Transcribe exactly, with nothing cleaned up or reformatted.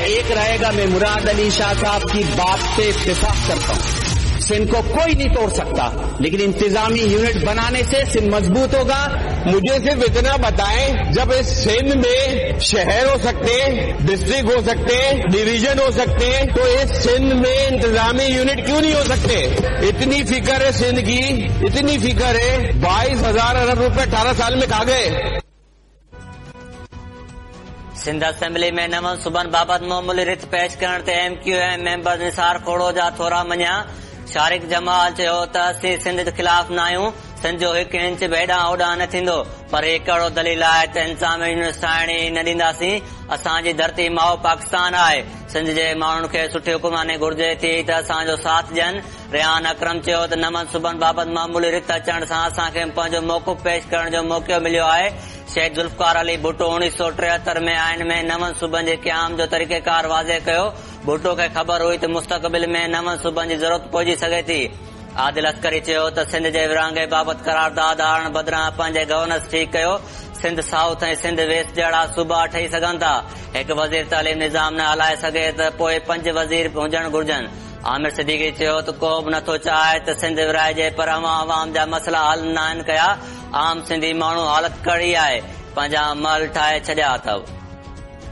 एक रहेगा। मैं मुराद अली शाह साहब की बात से इत्तेफाक करता हूं। सिंध को कोई नहीं तोड़ सकता, लेकिन इंतजामी यूनिट बनाने से सिंध मजबूत होगा। मुझे सिर्फ इतना बताएं, जब इस सिंध में शहर हो सकते हैं, डिस्ट्रिक्ट हो सकते हैं, डिवीजन हो सकते हैं, तो इस सिंध में इंतजामी यूनिट क्यों नहीं हो सकते? इतनी फिक्र है सिंध की, इतनी फिक्र है। बाईस हजार अरब रुपए अठारह साल में खा गए। सिंध असेंबली में नवनि सूबनि बाबति मामूली रिथ पेश करण ते M Q M member Nisar Khuhro जा थोरा मञिया। शारिक जमाल चयो त असीं सिंध ख़िलाफ़ न आहियूं, सिंध जो हिकु इंच बि हेॾां होॾां न थींदो, पर हीउ कहिड़ो दलील आहे त इंतज़ामी यूनिट ठाहिण ई न ॾींदासीं। असांजी धरती माउ पाकिस्तान आहे, सिंध जे माण्हुनि खे सुठी हुकुमरानी घुर्जे थी त असांजो साथ ॾियनि। रेहान अकरम चयो त नवनि सूबनि बाबति मामूली रिथ अचण सां असांखे पंहिंजो मौक़िफ़ पेश करण जो मौक़ो मिलियो आहे। शहीद ज़ुल्फ़िकार अली भुट्टो उणिवीह सौ टेहतरि में आइन में नवनि सूबनि जे क़याम जो तरीक़ेकार वाज़े कयो। भुट्टो खे ख़बर हुई त मुस्तक़बिल में नवनि सूबनि जी ज़रूरत पइजी सघे थी। आदिल अस्करी चयो त सिंध जे विरहाङे बाबति करारदाद आणण बदिरां पंहिंजे गवर्नेंस ठीकु कयो। सिंध साउथ ऐं सिंध वेस्ट जहिड़ा सूबा ठही सघनि था। हिकु वज़ीर तालीम निज़ाम न हलाए सघे त पोइ पंज वज़ीर हुजणु घुर्जनि। आमिर सिद्दीकी चयो त को बि नथो चाहे त सिंध विराइजे, पर अवां अवाम जा मसइला हल न आहिनि कया। आम सिंधी माण्हू हालत कहिड़ी आहे, पंहिंजा महल ठाहे छॾिया अथव।